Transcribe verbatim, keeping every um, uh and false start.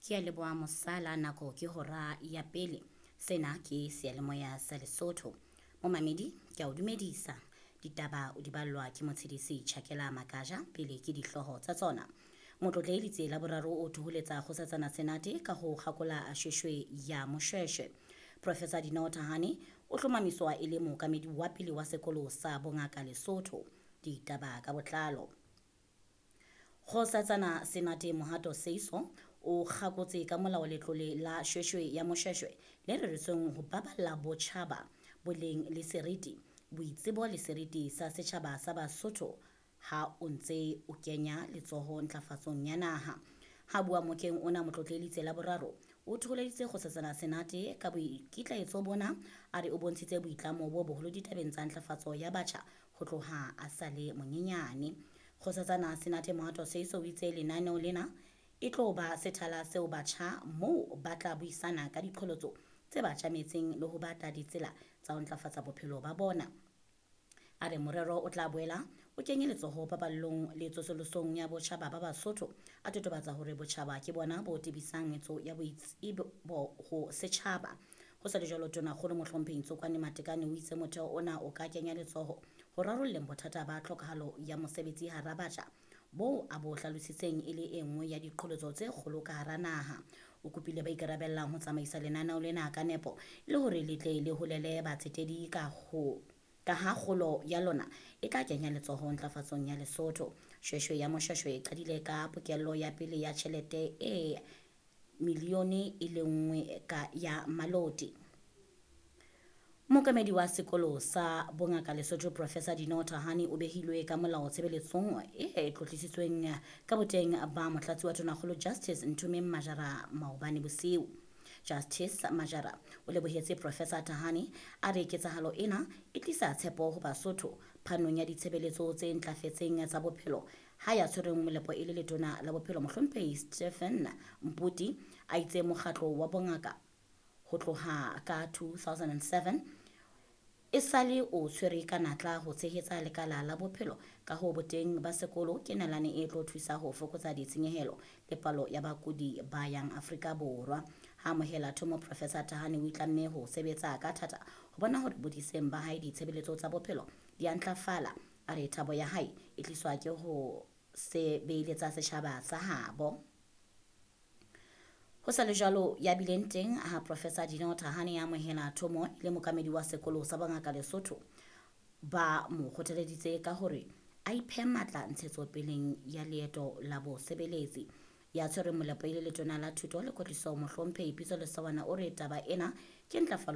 Ke a leboha mosala nako ke hora ya pele. Sena ke seyalemoya sa Lesotho. Momamedi ke a o dumedisa. Ditaba o di ballwa ke motshedisi Tjhakela Makaja pele ke dihlooho tsa tsona. Motlotlehi Letsie la boraro o thoholetsa Kgosatsana Senate ka ho kgakola shweshwe ya Moshweshwe. Professor Dineo Thahane o hlomamiswa e le mookamedi wa pele wa sekolo sa bongaka Lesotho. Ditaba ka botlalo. Kgosatsana Senate Mohato Seiso o kgakotse ka molao letlole la shweshwe ya Moshweshwe le reretsweng ho baballa botjhaba boleng le seriti, boitsebo le seriti sa setjhaba sa Basotho ha o ntse o kenya letsoho ntlafatsong ya naha. Ha bua mokeng ona Motlotlehi Letsie la boraro o thoholeditse Kgosatsana Senate ka boikitlaetso bona, a re o bontshitse boitlamo bo boholo ditabeng tsa ntlafatso ya batjha ho tloha a sa le monyenyane. Kgosatsana Senate Mohato Seiso o itse lenaneo lena e tlo ba sethala seo batjha moo ba tla buisana ka diqholotso tse ba tjametseng le ho batla ditsela tsa ho ntlafatsa bophelo ba bona. A re morero o tla boela o kenye letsoho paballong le tsosolosong ya botjhaba ba Basotho, a totobatsa hore botjhaba ke bona bo tebisang metso ya boitsebo ho setjhaba. Ho sa le jwalo, Tonakgolo Mohlomphehi Tsokoane Matekane o itse motheo ona o ka kenya letsoho ho rarolleng bothata ba tlhokahalo ya mosebetsi hara batjha boo a bo hlalositseng e le e nngwe ya diqholotso tse kgolo ka hara naha. O kopile ba ikarabellang ho tsamaisa lenaneo lena ka nepo e le hore le tle le holele batsetedi ka ho ka ha kgolo ya lona e tla kenya letsoho ntlafatsong ya Lesotho. Shweshwe ya Moshweshwe e qadile ka pokello ya pele ya tjhelete e milione e le nngwe ka ya maloti. Mookamedi wa sekolo sa bongaka Lesotho Professor Dineo Thahane o behilwe ka molao tshebeletsong e tlotlisitsweng ka boteng ba motlatsi wa Tonakgolo Justice Nthomeng Majara maobane bosiu. Justice Majara o lebohetse Professor Thahane, a re ketsahalo ena e tlisa tshepo ho Basotho phanong ya ditshebeletso tse ntlafetseng tsa bophelo ha ya tshwereng molepo e le letona la bophelo Mohlomphehi Stephen Mputi a itse mokgatlo wa bongaka ho tloha ka two thousand and seven e sale o tshwere ka natla ho tshehetsa lekala la bophelo ka ho boteng ba sekolo ke nalane e tlo thusa ho fokotsa ditshenyehelo le palo ya bakudi ba yang Afrika Borwa. Ha amohela thomo Professor Thahane o itlamme ho sebetsa ka thata ho bona hore bodiseng ba hae ditshebeletso tsa bophelo di a ntlafala. A re thabo ya hae e tliswa ke ho sebeletsa setjhaba sa habo. Ho sa le jwalo, ya bileng teng ha Professor Dineo Thahane ya amohela thomo le mookamedi wa sekolo sa bongaka Lesotho ba mo kgothaleditse ka hore a iphe matla ntshetsopeleng ya leeto la bosebeletsi. Ya tshwereng molepo e le letona la thuto le kwetliso Mohlomphehi Pitso Lesawana o re taba ena ke ntlafalo